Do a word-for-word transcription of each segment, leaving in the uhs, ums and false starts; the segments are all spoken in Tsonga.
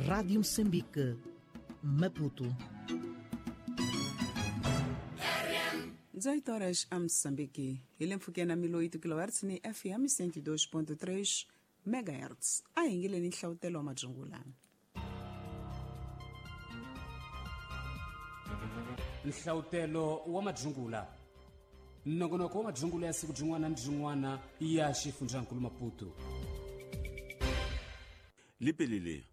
Rádio Moçambique, Maputo. dezoito horas a Moçambique. Hi mpfhukeni milo oito kilohertz ni F M cento e dois ponto três megahertz. A hi ngileni nhlawutelo wa madzungulana. Nhlawutelo wa madzungula. Nongonoko wa madzungula ya siku byin'wana ni byin'wana ya xifundzankulu Maputo. Lipelile.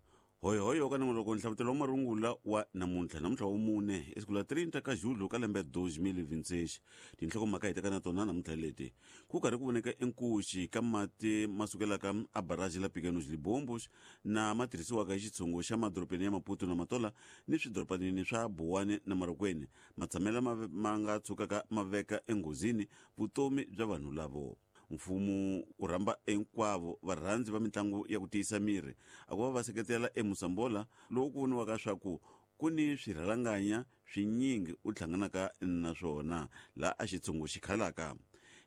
Hoyo hoyo ka nongonoko nhlawutelo wa marungula wa namuntlha namuntlha wa mune esiku la trinta ka julho ka lembe dois mil e vinte e seis. Tinhlokomhaka hi teka na tona namuntlha leti ku karhi ku voneka enkuxi ka mati ma sukelaka a barrage la Pequenos Libombos na ma tirhisiwaka hi xitshungu xa madorobeni ya Maputo na Matola ni swidorobanini swa Buwani na Marokweni matshamela ma, ma nga tshukaka ma veka enghozini vutomi bya vanhu lavo. Mfumo u rhamba hinkwavo varhandzi va mitlangu ya ku tiyisa miri a ku va va seketela eMosambola lowu ku voniwaka swa ku ku ni swirhalanganya swinyingi u hlanganaka na swona laha a xitshungu xi khalaka.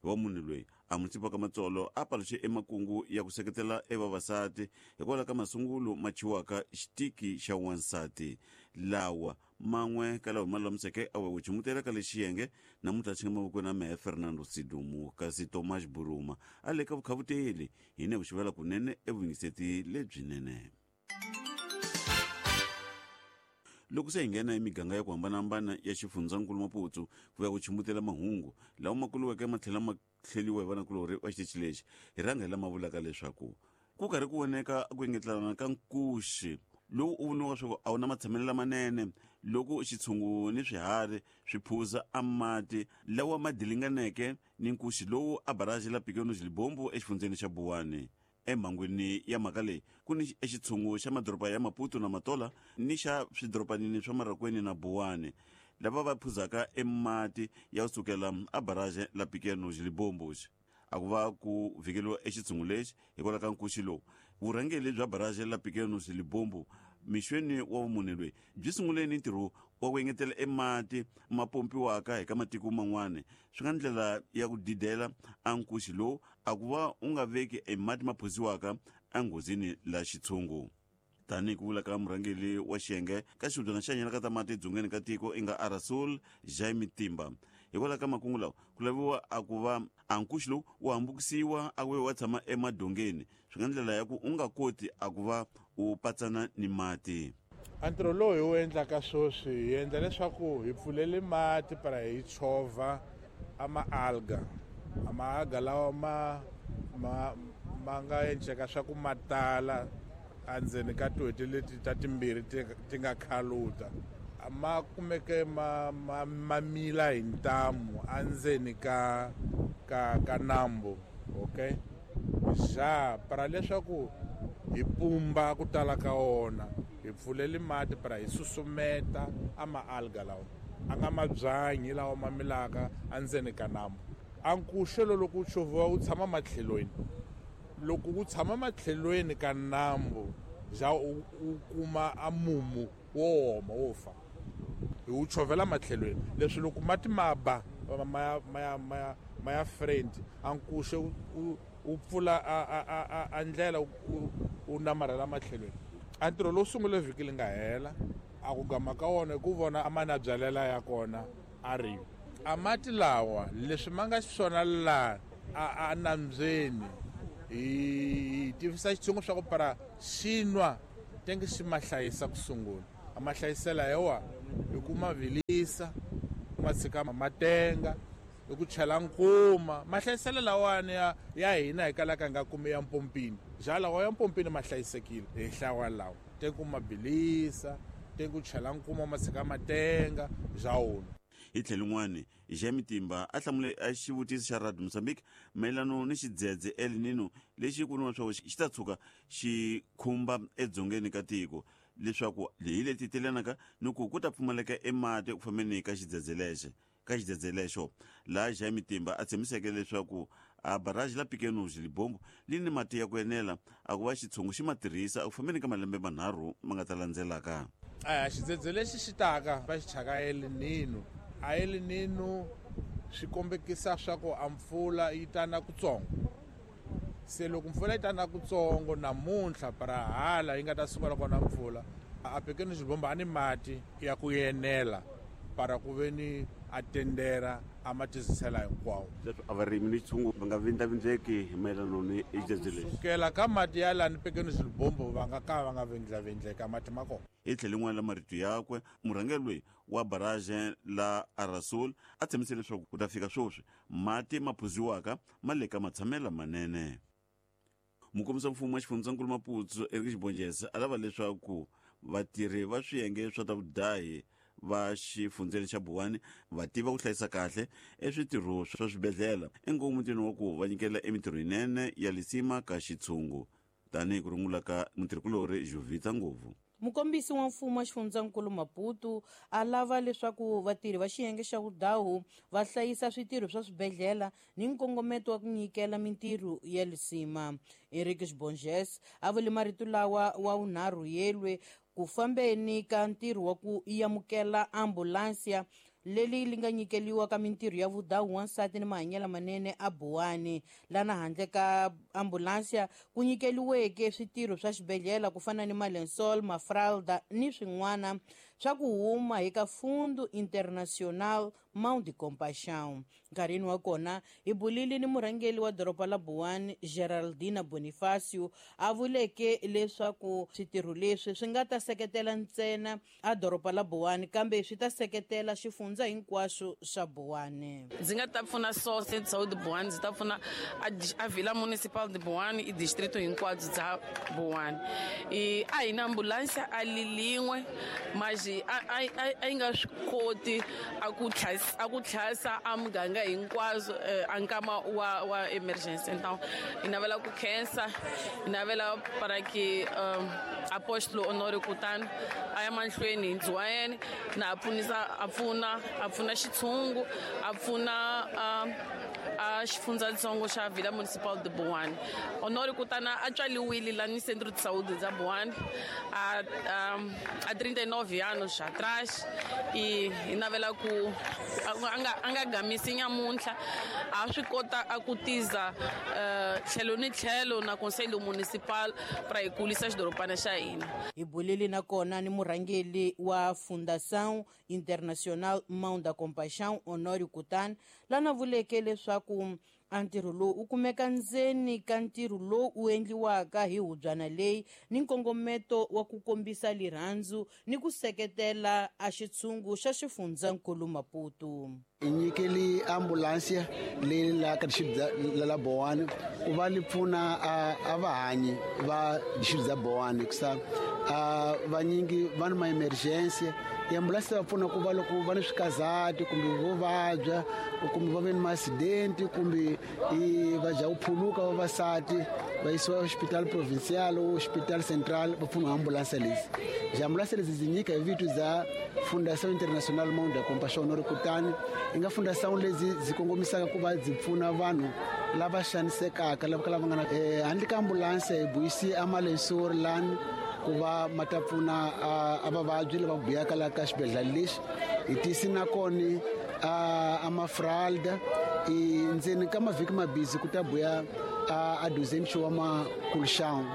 Hi wa munhu loyi a Mutsipa ka Matsolo a paluxe emakungu ya ku seketela evavasati hikwalaho ka masungulo ma chiwaka xitiki xa wansati lawa man'we ka lawa ma lulamiseke a we chumutela ka lexiyenge namuntlha xi nga mavokweni ya mehe Fernando Sidumu kasi Tomas Buruma a le ka vukhavuteli hi ne vuxivela kunene evuyingiseti lebyinene. Loko se hi nghena emiganga ya ku hambanahambana ya xifundzankulu Maputo ku ya ku chumutela mahungu lawa ma kuluweke ma tlhela ma hleliwa hi vanakulorhi va xitichi lexi hi rhanga hi lama vulaka leswaku ku karhi ku voneka ku engetelana ka nkuxi lowu u voniwaka swa ku a wu na matshamelo lamanene loko xitshungu ni swiharhi swi phuza a mati lawa ma dilinganeke ni nkuxi lowu a barrage la Pequenos Libombo exifundzeni xa Buwani. Emhangwini ya mhaka leyi ku ni exitshungu xa madoroba ya Maputo na Matola ni xa swidorobanini swa Marokweni na Buwani lava va phuzaka emati ya kusukela a barrage la Pequenos Libombos. A ku va ku vhikeliwa exitshungu lexi hikwalaho ka nkuxi lowu. Vurhangeri bya barrage la Pequenos Libombo mixweni wa vumunhu loyi byi sungule ni ntirho wa ku engetela emati ma pompiwaka hi ka matiko man'wana swi nga ndlela ya ku didela a nkuxi lowu a ku va u nga veki emati ma phuziwaka enghozini la xitshungu. Tanihi ku vula ka murhangeri wa xiyenge ka xihubyana xa nyana ka ta mati edzongeni ka tiko i nga Arasul Jaime Timba. Hikwalaho ka makungu lawa ku laviwa a ku va a nkuxi lowu wu hambukisiwa a ku wa tshama emadongeni swi nga ndlela ya ku u nga koti a ku va u patsana ni mati. A ntirho lowu hi wu endlaka sweswi hi endla leswaku hi pfulele mati para hi chovha a ma-alga a ma-alga lawa ma ma ma nga endleka swa ku ma tala endzeni ka tin'hweti leti ta timbirhi ti ti nga khaluta ma kumeke ma ma ma mila hi ntamu endzeni ka ka ka nambu okay ja para leswaku hi pumba ku tala ka wona hi pfulele mati para hi susumeta a ma-alga lawa a nga mabyanyi lawa ma milaka endzeni ka nambu. A nkuxelo loko wu chovhiwa wu tshama matlhelweni loko wu tshama matlhelweni ka nambu ja u kuma a mumu wo oma wo fa hi wu chovhela matlhelweni leswi loko mati ma ba ma ma ma ma ya friend a nkuxe u pfula a a a ndlela u namarhela matlhelweni. A ntirho lowu sungule vhiki li nga hela a ku gama ka wona hi ku vona a mana byalela ya kona a ri a mati lawa leswi ma nga xiswona laha a a nambyeni hi tivisa xitshungu swa ku para xi nwa tenge xi ma hlayisa ku sungula a ma hlayisela hi wa hi ku ma vilisa ku ma tshika ma tenga hi ku chela nkuma mahlayiselo lawani ya ya hina hi kalaka nga kumi ya mpompini ja lawa ya mpompini ma hlayisekile hi hlawa lawa tenge ku ma bilisa tenge ku chela nkuma ma tshika ma tenga ja wona. Hi tlhelo rin'wana Jaime Timba a hlamule a xivutiso xa Radio Mozambique mayelano ni xidzedze El Nino lexi ku voniwa swa xi ta tshuka xi khumba edzongeni ka tiko leswaku hi leti telanaka ni ku ku ta pfumaleka emati ku fambeni ka xidzedze lexi ka xidzedze lexo laha Jaime Timba a tshembiseke leswaku a barrage la Pequenos Libombo li ni mati ya ku enela a ku va xitshungu xi ma tirhisa ku fambeni ka malembe manharhu ma nga ta landzelaka. A xidzedze lexi xi taka va xi thyaka El Nino a El Nino swi kombekisa swa ku a mpfula yi ta na kutsongo Se loko mpfula yi ta na kutsongo namuntlha para hala yi nga ta sungula kona mpfula, a Pequeno Lebombo a ni mati ya ku enela para ku ve ni a tendera a ma tizisela hinkwawo. Leswi a varimi ni tshungu va nga vindlavindleki hi mayelana ni xidzedze lexi. Sukela ka mati ya lani Pequeno Lebombo va nga ka va nga vindlavindleka mati ma kona. Hi tlhelo rin'wana la marito yakwe, murhangeri loyi wa barrage la Arasul a tshembise leswaku ku ta fika sweswi mati ma phuziwaka ma le ka matshamelo manene. Mukombisa mfumo wa xifundzankulu Maputo Eric Xibonjese a lava leswaku vatirhi va swiyenge swa ta vudahi va xifundzeni xa Buwani va tiva ku hlayisa kahle eswitirho swa swibedhlele engomutini wa ku va nyikela emitirho yinene ya lisima ka xitshungu, tanihi ku rungula ka mutirhikulori Jovita Ngopfu. Mukombisi wa mfumo wa xifundzankulu Maputo a lava leswaku vatirhi va xiyenge xa vudahu va hlayisa switirho swa swibedhlele ni nkongometo wa ku nyikela mintirho ya lisima. Eric Xibonjese a vule marito lawa wa vunharhu yelwe ku fambeni ka ntirho wa ku amukela ambulansiya leli li nga nyikeliwa ka mintirho ya vudahu wansati ni mahanyelo manene a Buwani. Lana handle ka ambulansiya ku nyikeliweke switirho swa xibedhlele ku fana ni malensol, mafralda ni swin'wana swa ku huma hi ka Fundo Internacional Mão de Compaixão. Nkarhini wa kona hi bulile ni murhangeri wa doroba la Buwani Geraldina Bonifacio a vuleke leswaku switirho leswi swi nga ta seketela ntsena a doroba la Buwani kambe swi ta seketela xifundza hinkwaxo xa Buwani. Ndzi nga ta pfuna so Centro de Buwani, ndzi ta pfuna a Vila Municipal de Buwani i distrito hinkwabyo bya Buwani. I a hi na ambulanse a lilin'we mas a a yi nga swi koti a ku a ku tlhasa a muganga hinkwaswo a nkama wa wa emergency. Então hi navela ku khensa, hi navela para que apóstolo Honório Kutani a ya mahlweni hi ndzi wa yena na a pfunisa a pfuna a pfuna xitshungu a pfuna a xifundzatsongo xa Vila Municipal de Buwani. Honório Kutani a tswaliwile la ni Centro de Saúde da Buwani a a trinta e nove anos atrás e hi navela ku a nga a nga gamisi nyamuntlha a swi kota a ku tiza tlhelo ni tlhelo na Conselho Municipal para hi kulisa xidorobana xa hina. Hi bulile na kona ni murhangeri wa Fundação Internacional Mão da Compaixão Honório Kutani lana vuleke leswaku a ntirho lowu u kumeka ndzeni ka ntirho lowu u endliwaka hi hubyana leyi ni nkongometo wa ku kombisa lirhandzu ni ku seketela a xitshungu xa xifundzankulu Maputo. Hi nyikeli ambulansi leyi la ka distrito la Buwani ku va li pfuna a vahanyi va distrito ya Buwani kusa a vanyingi va ni ma-emergency. Ambulansi va pfuna ku va loko va ni swikazati kumbe vo vabya kumbe va ve ni ma-accident kumbe va dya ku phuluka vavasati va yisiwa hospital provincial o hospital central va pfuniwa ambulansi lezi. Ambulansi lezi byi nyika hi vito bya Fundação Internacional Mão da Compaixão Honório Kutani yi nga fundação lezi byi kongomisaka ku va byi pfuna vanhu lava xanisekaka lava lava nga na handle ka ambulansi hi buyisi a malensori lani ku va ma ta pfuna a vavabyi lava buyaka la ka xibedhlele lexi. Hi tisi na kona a mafralda i ndzeni ka mavhiki mabisi ku ta buya a duzencho wa makulxan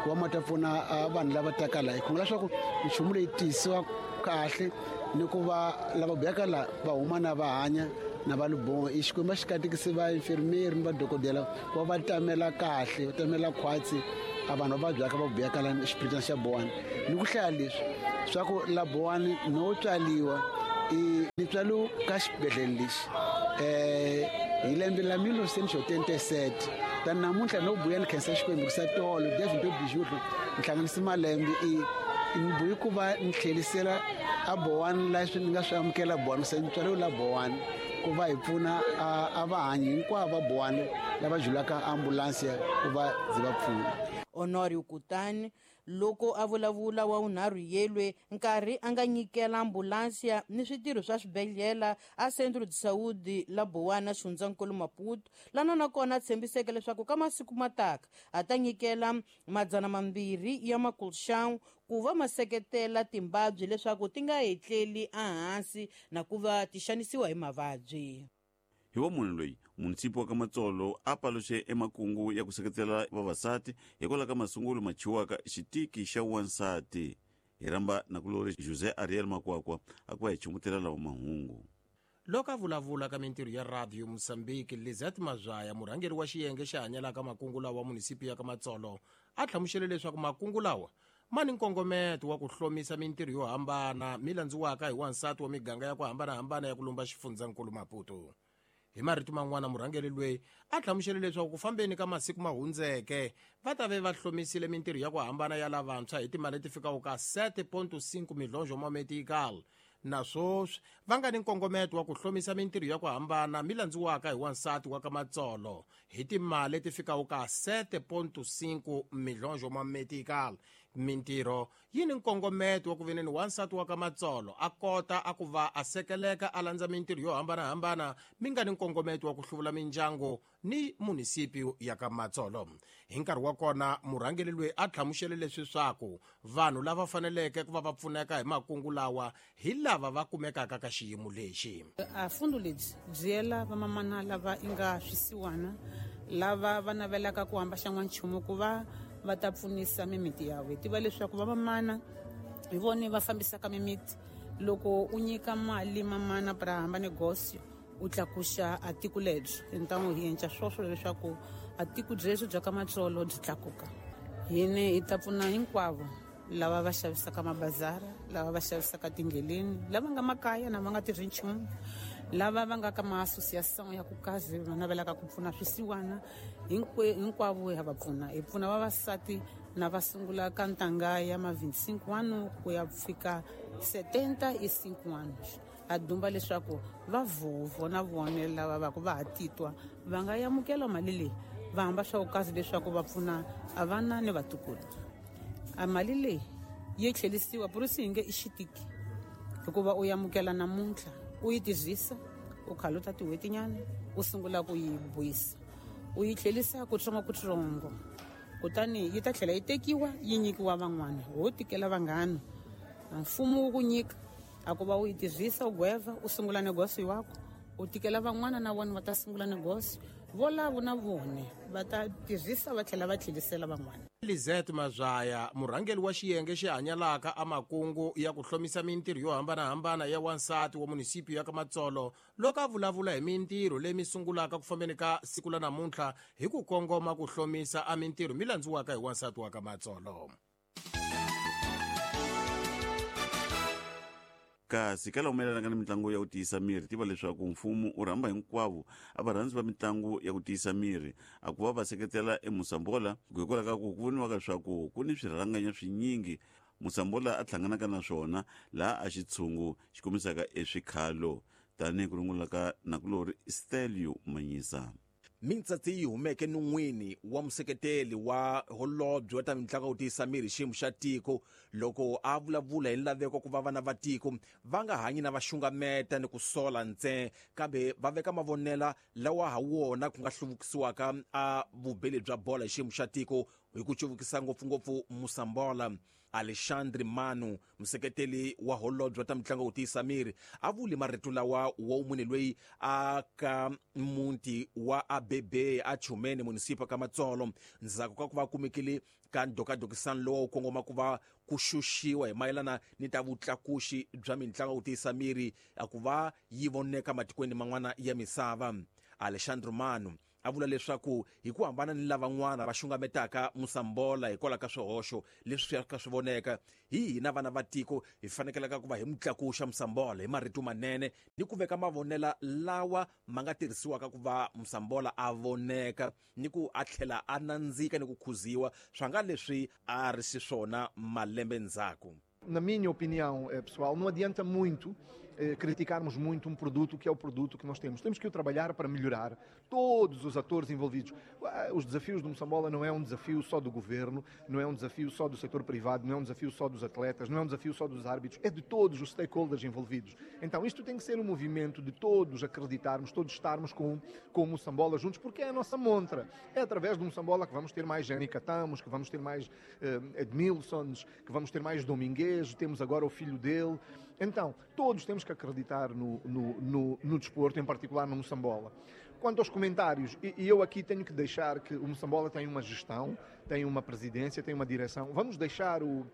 wa ma ta pfuna vanhu lava taka la. Hi khongela leswaku nchumu leyi tisiwa kahle ni ku va lava buyaka la va huma na va hanya na va lubongo. I Xikwembu xi katekise va infirmieri ni vadokodela ku va va tamela kahle, va tamela khwatsi a vanhu va vabyaka va buyaka la xibedhlele xa Buwani. Ni ku hlaya leswi swa ku la Buwani no tswaliwa i ni tswalo ka xibedhlele lexi eh hi lembe la mille neuf cent trente-sept. Ta namuntlha no buya ni khensa Xikwembu ku sa tolo David Bijutlo ni hlanganise malembe i ni buyi ku va ni tlhelisela a Buwani la swi ni nga swi amukela Buwani se ni tswariwe la Buwani ku va hi pfuna a vahanyi hinkwavo va Buwani lava julaka ambulansi ku va byi va pfuna. Honório Kutani loko a vulavula wa vunharhu yelwe nkarhi a nga nyikela ambulansiya ni switirho swa swibedhlele a Centro de Saúde la Buwana xifundzankulu Maputo lana nakona a tshembiseke leswaku ka masiku mataka a ta nyikela madzana mambirhi ya makulxan ku va ma seketela timbabyi leswaku ti nga hetleli ehansi na ku va ti xanisiwa hi mavabyi. Hi wa munhu loyi munisipi wa ka Matsolo a paluxe emakungu ya ku seketela vavasati hikwalaho ka masungulo ma chiwaka xitiki xa wansati. Hi rhamba nakulori José Ariel Makwakwa a ku va hi chumbutela lawa mahungu. Loko a vulavula ka mintirho ya Radio Mozambique, Lizette Mazwaya, murhangeri wa xiyenge xa hanyelaka makungu lawa munisipi ya ka Matsolo, a hlamusele leswaku makungu lawa ma ni nkongometo wa ku hlomisa mintirho yo hambana mi landziwaka hi wansati wa miganga ya ku hambanahambana ya ku lumba xifundzankulu Maputo. Hi marito man'wana, murhangeri loyi a hlamusele leswaku ku fambeni ka masiku ma hundzeke va ta ve va hlomisile mintirho ya ku hambana ya lavantshwa hi timali leti fikaka ka sete ponto cinco milhonjo ma metical, na swoswi va nga ni nkongometo wa ku hlomisa mintirho ya ku hambana mi landziwaka hi wansati wa ka Matsolo hi timali leti fikaka ka sete ponto cinco milhonjo ma metical. Mintirho yi ni nkongometo wa ku veneni wansati wa ka Matsolo a kota a ku va a sekeleka a landza mintirho yo hambanahambana mi nga ni nkongometo wa ku hluvula mindyangu ni munisipi ya ka Matsolo. Hi nkarhi wa kona, murhangeri loyi a hlamusele leswi swaku vanhu lava faneleke ku va va pfuneka hi makungu lawa hi lava va kumekaka ka xiyimo lexi. A fundo lebyi byi yela vamamana lava i nga swisiwana, lava va navelaka ku hamba xan'wanchumu ku va va ta pfunisa mimiti ya we. Tiva leswaku vamamana hi vone va fambisaka mimiti. Loko u nyika mali mamana para hamba negócio, u tlakuxa a tiko lebyi. Então hi endla swoswo leswaku a tiko byebyo bya ka Matsolo byi tlakuka. Hine hi ta pfuna hinkwavo lava va xavisaka mabazara, lava va xavisaka tindleleni, lava nga makaya na va nga tirhi nchumu, lava va nga ka ma-association ya ku kazi va navelaka ku pfuna swisiwana, hinkwavo ha va pfuna. Hi pfuna vavasati na va sungula ka ntanga ya ma vinte e cinco anos ku ya fika setenta e cinco anos. A dumba leswaku va vhovho na vone lava va ku va ha titwa va nga amukela mali leyi, va hamba swa ku kazi leswaku va pfuna a vana ni vatukulu. A mali leyi yi tlherisiwa por isso hi nge i xitiki, hikuva u amukela namuntlha, u yi tirhisa, u khaluta tin'hwetinyana, u sungula ku yi vuyisa, u yi tlherisa kutsongokutsongo, kutani yi ta tlhela yi tekiwa yi nyikiwa van'wana. Ho tikela vanghana, mfumo wu ku nyika a ku va u yi tirhisa, u gweva, u sungula negócio wako, u tikela van'wana na vona va ta sungula negócio, volavo na vone va ta tirhisa va tlhela va tlherisela van'wana. Lizette Mazwaya, murhangeri wa xiyenge xi hanyalaka a makungu ya ku hlomisa mintirho yo hambanahambana ya wansati wa munisipi ya ka Matsolo, loko a vulavula hi mintirho leyi mi sungulaka ku fambeni ka siku la namuntlha hi ku kongoma ku hlomisa a mintirho mi landziwaka hi wansati wa ka Matsolo. Kasi ka laha humelelaka ni mitlangu ya ku tiyisa miri, tiva leswaku mfumo u rhamba hinkwavo a varhandzi va mitlangu ya ku tiyisa miri a ku va va seketela eMosambola, hikwalaho ka ku ku voniwaka leswaku ku ni swirhalanganya swinyingi Mosambola a hlanganaka na swona laha a xitshungu xi kombisaka eswikhalo, tanihi ku rungula ka nakulori Stelio Manyisa. Mintsatsi yi humeke nun'wini wa museketeli wa holobye wa ta mitlangu ya ku tiyisa miri xiyimo xa tiko loko a vulavula hi laveko ku va vana va tiko va nga hanyi na va xungameta ni ku sola ntsena, kambe va veka mavonela lawa ha wona ku nga hluvukisiwaka a vubeli bya bola hi xiyimo xa tiko hi ku cuvukisa ngopfungopfu Mosambola. Alexandre Manu, museketeli wa holobye wa ta mitlangu ya ku tiyisa miri, a vuli marito lawa wa munhu loyi a ka muti wa A B B a Chumene munisipa ka Matsolo, ndzhaku ka ku va kumekile ka ndokadokisano lowu kongoma ku va ku xuxiwa hi mayelana ni ta vutlakuxi bya mitlangu ya ku tiyisa miri a ku va yi voneka matikweni man'wana ya misava. Alexandre Manu a vula leswaku hi ku hambana ni lavan'wana va xungametaka Mosambola hikwalaho ka swihoxo leswi swi ka swi voneka, hi hina vana va tiko hi fanekelaka ku va hi mutlakuxa Mosambola hi marito manene ni ku veka mavonela lawa ma nga tirhisiwaka ku va Mosambola a voneka ni ku a tlhela a nandzika ni ku khuziwa swa nga leswi a ri xiswona malembe ndzhaku. Na minha opinião, pessoal, não adianta muito eh, criticarmos muito um produto que é o produto que nós temos. Temos que o trabalhar para melhorar todos os atores envolvidos. Os desafios do Moçambola não é um desafio só do governo, não é um desafio só do setor privado, não é um desafio só dos atletas, não é um desafio só dos árbitros, é de todos os stakeholders envolvidos. Então isto tem que ser um movimento de todos acreditarmos, todos estarmos com, com o Moçambola juntos, porque é a nossa montra. É através do Moçambola que vamos ter mais Jenny Catamos, que vamos ter mais eh, Edmilsons, que vamos ter mais Dominguez, temos agora o filho dele. Então, todos temos que acreditar no, no, no, no desporto, em particular no Moçambola. Quanto aos comentários, e, e eu aqui tenho que deixar que o Moçambola tem uma gestão, tem uma presidência, tem uma direção. Vamos deixar o,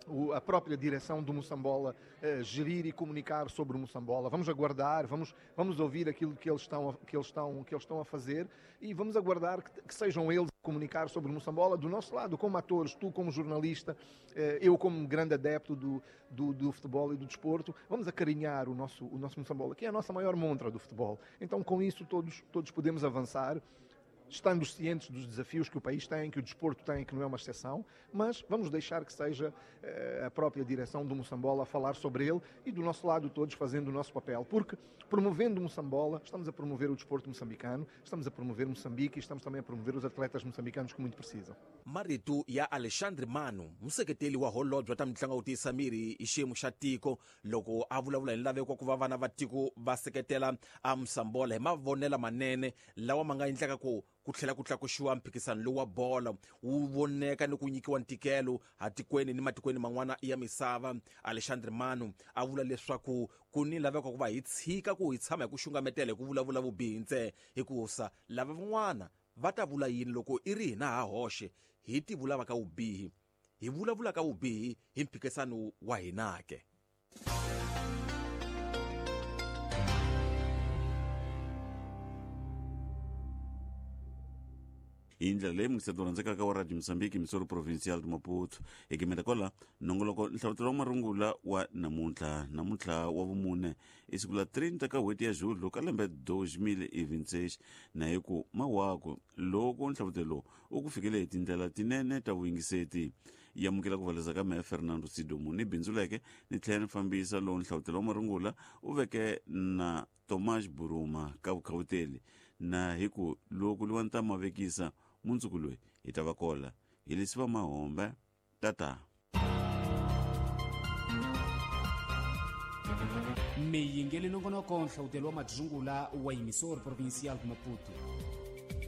o, a própria direção do Moçambola eh, gerir e comunicar sobre o Moçambola. Vamos aguardar, vamos, vamos ouvir aquilo que eles estão a, que eles estão, que eles estão a fazer e vamos aguardar que, que sejam eles a comunicar sobre o Moçambola do nosso lado, como atores, tu como jornalista, eh, eu como grande adepto do, do, do futebol e do desporto, vamos acarinhar o nosso, o nosso Moçambola, que é a nossa maior montra do futebol. Então, com isso, todos, todos podemos avançar, estando cientes dos desafios que o país tem, que o desporto tem, que não é uma exceção, mas vamos deixar que seja eh, a própria direção do Moçambola a falar sobre ele e do nosso lado todos fazendo o nosso papel, porque promovendo o Moçambola, estamos a promover o desporto moçambicano, estamos a promover Moçambique e estamos também a promover os atletas moçambicanos que muito precisam. Marito ya Alexandre Mano, museketeli wa holobye wa ta mitlangu ku tiyisa miri hi xiyimo xa tiko, loko a vulavula hi laveko ku va vana va tiko va seketela a Moçambola hi mavonelo manene lawa ma nga endlaka ku ku tlhela ku tlakuxiwa mphikisano lowu wa bolo wu voneka ni ku nyikiwa ntikelo hatikweni ni matikweni man'wana ya misava. Alexandre Mano a vula leswaku ku ni laveko ku va hi tshika ku hi tshama hi ku xungametela hi ku vulavula vubihi ntsena, hikusa lava van'wana va ta vula yini loko i ri hina ha hoxe hi ti vulava ka vubihi, hi vulavula ka vubihi hi mphikisano wa hina ke. Hi ndlela leyi mungiseto rhandzekaka wa Radio Mozambique Missouri Provincial de Maputo hi gimeta kwala nongoloko nhlavutelo wa marungula wa namuntlha namuntlha wa vumune i siku la trinta ka n'hweti ya Julho ka lembe dois mil e vinte e seis na hi ku mawako loko nhlavutelo u ku fikele hi tindlela tinene ta vuyingiseti. Yi amukela ku valeza ka meya Fernando Sidomu ni bindzuleke ni tlhela ni fambisa lowu nhlavutelo wa marungula u veke na Tomás Buruma ka vukhawuteli na hi ku loko liwa ni ta mavekisa mundzuku loyi hi ta va kola hi lesi va mahombe tata. Mi yingeli nongonoko nhlavutelo wa madzungula wa Emissor Provincial de Maputo.